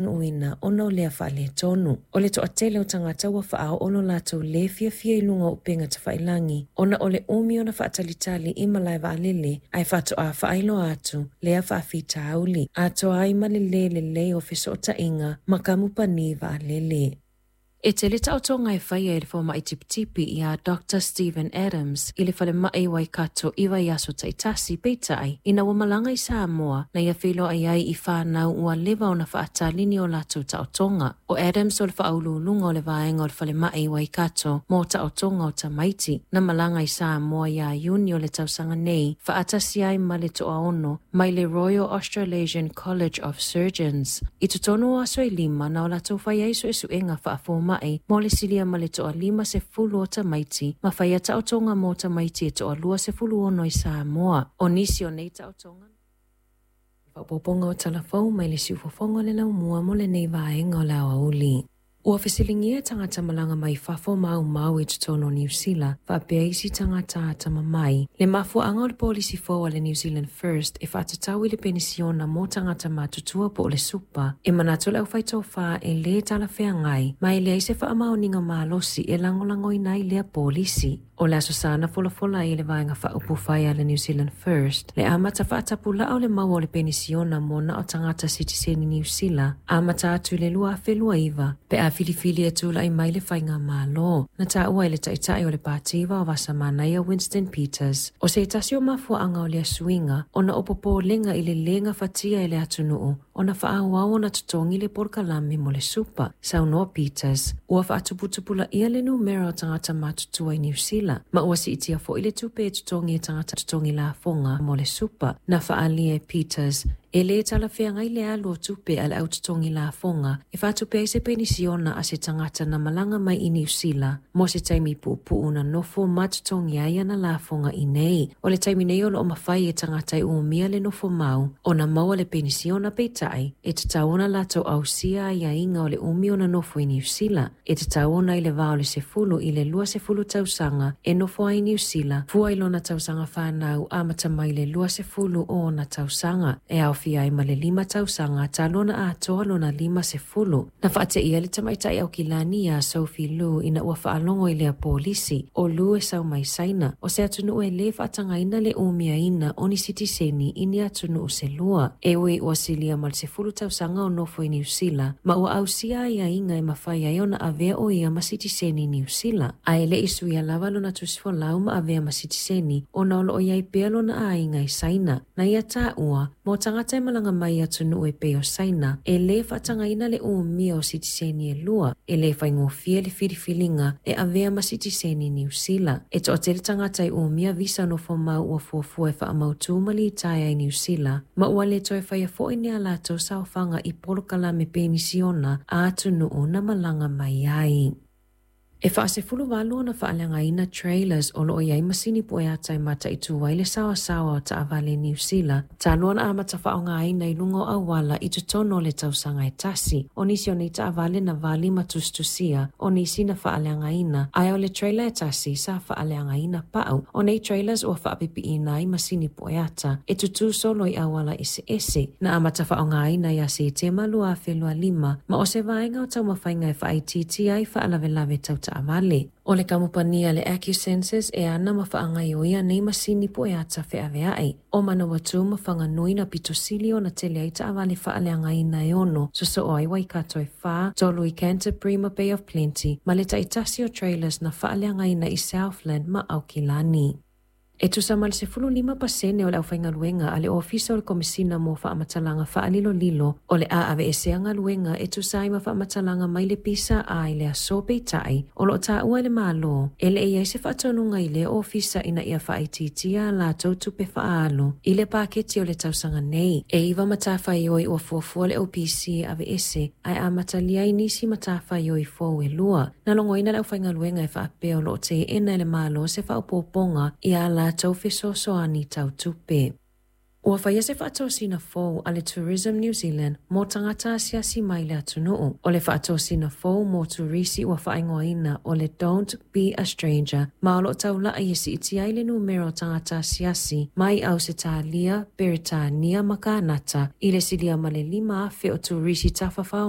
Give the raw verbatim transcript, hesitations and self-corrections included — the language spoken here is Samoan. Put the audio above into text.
Uina ona o lea faaletonu. O le toatele o tagata ua faaoo lo latou le fiafia i luga o upega tafailagi ona o le umi ona faatalitali i malae vaalele ae faatoa faailoa atu lea faafitauli atoa ai ma le lē lelei o fesootaiga ma kamupani vaalele. E tele taotoga e faia e le fomai tipitipi ia Doctor Stephen Adams i le falemai Waikato i vaiaso taitasi, peitai, ina ua malaga i Samoa na ia feiloai ai i fanau ua leva ona faatali ni o latou taotoga. O Adams o le faauluuluga o le vaega o le falemai Waikato mo taotoga o tamaiti, na malaga i Samoa ia Iuni o le tausaga nei, faatasi ai ma le toaono mai le Royal Australasian College of Surgeons. I totonu o aso e lima na o latou fai ai suesuega faafomai mo le silia ma le toalima sefulu o tamaiti ma faia taotoga mo tamaiti e toalua sefulu ono i Samoa. O nisi o nei taotoga. Faaopoopoga o talafou mai le siufofoga o le laumua mo lenei vaega o le aoauli. Ua fesiligia tagata malaga mai fafo maumau i totonu o Niu Sila faapea isi tagata atamamai le mafuaaga o le polisi fou a le New Zealand First e faatatau i le penisiona mo tagata matutua po o le super. E manatu le aufaitofa e lē talafeagai ma e leai se faamaoniga malosi e lagolagoina ai lea polisi. O le aso sa na folafola ai e le vaega faaupufai a le New Zealand First le amata faatapulaa o le maua o le penisiona mo na o tagata sitiseni Niu Sila amata atu i le lua afe lua iva pe a filifili e tulai mai le faigamalo. Na taua e le taitai o le Pati Vaovasamanaia Winston Peters o se tasi o mafuaaga o lea suiga ona o popolega i le lē gafatia e le atunuu ona faaauau ona totogi le polokalame mo le super. Saunoa Peters ua faatuputupulaia le numera o tagata matutua i Niu Sila ma ua siitia foi le tupe e totogi e tagata totogi lafoga mo le super. Na faaalia e Peters e lē talafeagai le alu o tupe a le au totogi lafoga e faatupe ai se penisiona a se tagata na malaga mai i Niu Sila mo se taimi puupuu na nofo ma totogi ai ana lafoga i nei. O le taimi nei o loo mafai e tagata e umia le nofo mau ona maua le penisiona, peitai e tatau ona latou ausia aiaiga o le umi ona nofo i Niu Sila. E tatau ona i le va o le sefulu i le lua sefulu tausaga e nofo ai i Niu Sila fua i lona tausaga fanau amata mai le lua sefulu o ona tausaga e aofia ai ma le lima tausaga talu ona atoa lona lima sefulu. Na faateia le tamaitai Aukilani ia Sophie Lu ina ua faalogo i lea polisi. O Lu e sau mai Saina, o se atunuu e lē faatagaina le umiaina o ni sitiseni i ni atunuu se lua. E ui ua silia ma le sefulu tausaga o nofo i Niu Sila ma ua ausia aiaiga e mafai ai ona avea o ia ma sitiseni Niu Sila, ae le i suia lava lona tusifolau ma avea ma sitiseni ona o loo iai pea lona aiga i Saina. Na ia taua mo tagata e malaga mai atunuu e pei o Saina e lē faatagaina le umia o sitiseni e lua, e lē faigofie le filifiliga e avea ma sitiseni Niu Sila. E toatele tagata e umia visa nofo mau ua fuafua e faamautū ma litaea i Niu Sila ma ua le toe faia foi ni a latou saofaga i polokalame penisiona a atunuu na malaga mai ai. E faasefulu valu ona faaleagaina trailers o loo iai masini pueata e mataitu ai le saoasaoa o taavale Niu Sila talu ona amata faaaogaina i luga o auala i totonu o le tausaga e tasi. O nisi o nei taavale na vali ma tusitusia, o nisi na faaleagaina, ae o le trailer e tasi sa faaleagaina pau. O nei trailers ua faapipiina ai masini pueata e tutū solo i auala eseese. Na amata faaaogaina ia Setema lua afe lua lima ma o se vaega o taumafaiga e faaitiitia ai faalavelave tau taavale. O le kamupani a le Acusensus e ana ma faagaioia nei masini pueata feaveai. O Manawatu ma Whanganui na pitosili ona tele ai taavale faaleagaina e ono sosoo ai Waikato e whā, tolu i Canterbury ma Bay of Plenty, ma le taitasi o trailers na faaleagaina i Southland ma Aukilani. E tusa ma le sefulu lima pasene o le aufaigaluega a le Ofisa o le Komesina mo Faamatalaga Faalilolilo o le a aveesea galuega e tusa ai ma faamatalaga mai le pisa a i le aso, peitai o loo taua e le Malo e le i ai se faatonuga i lea ofisa ina ia faaitiitia a latou tupe faaalu i le paketi o le tausaga nei. E iva matafaioi ua fuafua le O P C e aveese ae amatalia ai nisi matafaioi fou e lua. Na logoina le aufaigaluega e faapea o loo teena e le Malo se faaopoopoga ia latou fesoasoani tau tupe. Ua faia se faatosina fou a le Tourism New Zealand mo tagata asiasi mai le atunuu. O le faatosina fou mo turisi ua faaigoaina o le Don't Be a Stranger, ma o loo taulai e siitia ai le numera o tagata asiasi mai Ausetalia, Peretania ma Kanata i le silia ma le lima afe o turisi tafafao.